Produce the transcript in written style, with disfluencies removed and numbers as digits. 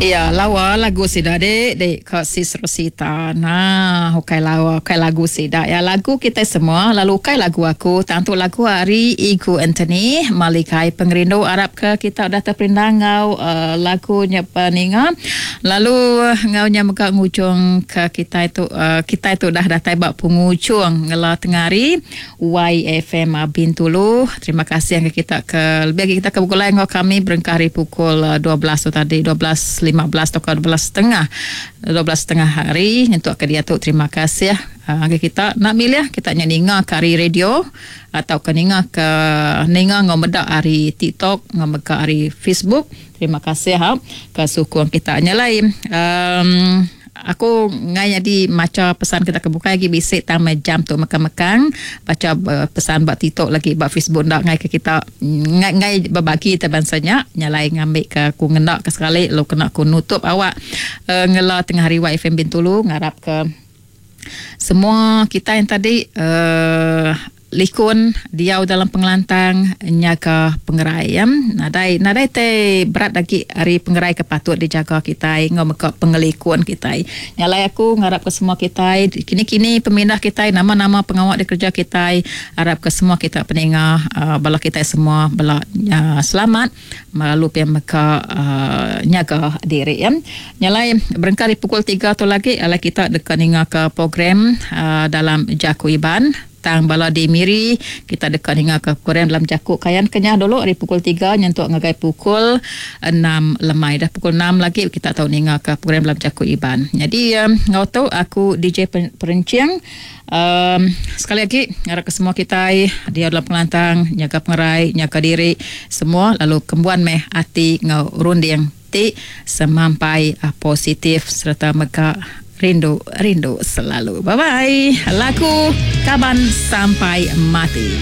Iya lawa lagu sida dik dik ka sis Rosita nah ukai lawa ukai lagu sida iya lagu kitai semua lalu ukai lagu aku tang tu lagu ari Igu Anthony Malikai Pengerindu arap ke kita udah teperindang enggau uhh lagu nya peninga lalu enggau nya mega ngujung ke kitai tu uhh kitai tu udah datai ba pengujung ngela tengah hari. YFM Bintulu. Terima kasih ngagai kita ke lebih agi kita ke begulai enggau kami berengkah ari pukul 12 tu tadi, 12.15 tauka 12 setengah, 12 setengah hari nyentuk ke diatu. Terima kasih ngagai kita. Enda milih kita nya ninga ke ari radio tauka ninga ke ninga enggau meda ari TikTok enggau mega ari Facebook. Terima kasih ke sukung kita. Nya alai um Aku enggai nyadi macha pesan kita ke bukai agi bisi tang meh jam tu mekang-mekang bacha pesan ba TikTok lagi ba Facebook enda enggai ke kita enggai enggai bebagi te bansa nya nyalai ngambi ke aku ngena ke sekali lalu kena ku nutup awak ngela tengah hari YFM Bintulu ngarap ke semua kitai tadi uhh Likun diau dalam pengelantang nyaga pengerai ya. Nadai nadai tai berat agi ari pengerai ke patut dijaga kitai enggau mega pengelikun kitai. Nya alai aku ngarapka semua kitai kini-kini pemindah kitai nama-nama pengawa dikereja kitai arapka semua kita peninga uhh bala kitai semua bela uhh selamat lalu pia mega uhh nyaga diri ya. Nya alai berengkah ari pukul tiga tu lagi alai kita deka ningaka program uhh dalam jaku Iban. Tang bala di Miri, kita deka ningaka program dalam jaku Kayan Kenyah dulu ari pukul tiga nyentuk ngagai pukul enam lemai. Dah pukul enam lagi kita tau ningaka program dalam jaku Iban. Nyadi enggau tu aku DJ Perenching uhh sekali agi ngarapka semua kitai diau dalam pengelantang, nyaga pengerai, nyaga diri semua lalu kembuan meh ati enggau runding ti semampai positif sereta mega rindu rindu selalu. Bye bye. Lagu Kaban Sampai Mati.